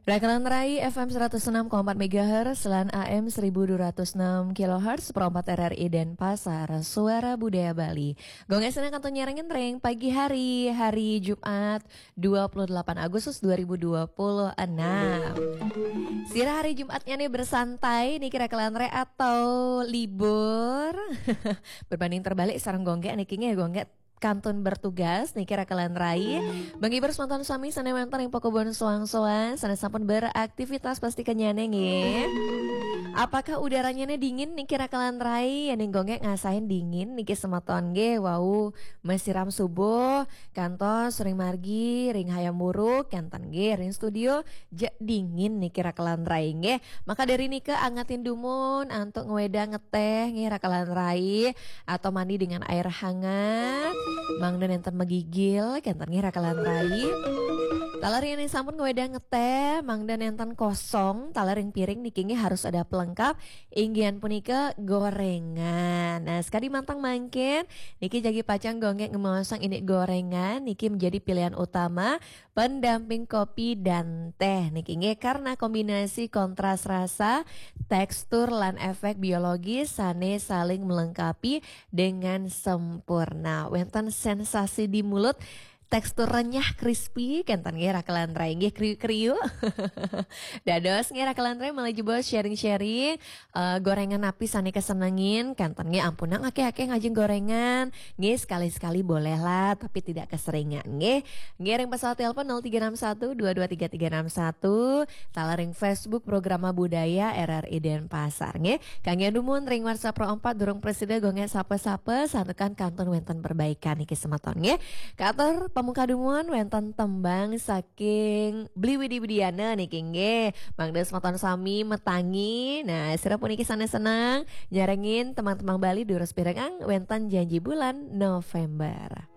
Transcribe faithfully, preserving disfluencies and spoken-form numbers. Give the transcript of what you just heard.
Rakalan Rai F M seratus enam koma empat megahertz lan A M seribu dua ratus enam kilohertz, seperempat R R I Denpasar, Suara Budaya Bali. Gonggeng seneng kantun nyarengin ring pagi hari, hari Jumat dua puluh delapan Agustus dua ribu dua puluh enam. Sira hari Jumatnya nih bersantai niki Rakalan Rai atau libur? Berbanding terbalik sareng gonggeng niki nggih, gonggeng kantun bertugas niki Rakalan Rai. Menghibur semeton sami sane wenten ring pakubon soang-soang, sane sampun beraktivitas pasti kenyane nggih. Apakah udaranya ne dingin niki Rakalan Rai? Yen gonggeng ngasahin dingin niki semeton nggih. Wau masiram subuh, kantos ring margi, ring Hayam Wuruk, kenten nggih ring studio, jeg dingin niki Rakalan Rai nggih. Maka dari nika angetin dumun antuk ngwedang ngeteh nggih Rakalan Rai, atau mandi dengan air hangat, mangda nenten megigil, kenten nggih Rakalan Rai. Taler yen sampun ngwedang ngeteh, mangda nenten kosong, taler ring piring niki nggih harus ada pelengkap, inggihan punika gorengan. Nah, sekadi mantang mangkin, niki jagi pacang gonggeng ngemaosang indik gorengan, niki menjadi pilihan utama pendamping kopi dan teh niki nggih, karena kombinasi kontras rasa, tekstur lan efek biologis sane saling melengkapi dengan sempurna. Wenten sensasi di mulut, tekstur renyah, crispy, kenten nggih Rakalan Rai nggih, kriuk-kriuk. Dados nggih Rakalan Rai malih jebos sharing-sharing, eh, gorengan napi sane kesenengin, kenten nggih, ampunang akeh-akeh ngajeng gorengan, nggih sekali-sekali boleh lah, tapi tidak keseringan nggih. Nggih ring pesawat telepon nol tiga enam satu dua dua tiga tiga enam satu, taler ring Facebook Programa Budaya R R I Denpasar nggih. Kangge dumun ring WhatsApp Pro empat durung prasida gonggeng sapa-sapa, santukan kantun wenten perbaikan niki semeton nggih. Katur pamungkah dumun wenten tembang saking Bli Widi Widiana niki nggih. Mangda semeton sami metangi. Nah, sira puniki sane seneng nyarengin tembang-tembang Bali durus pirengang wenten Janji Bulan November.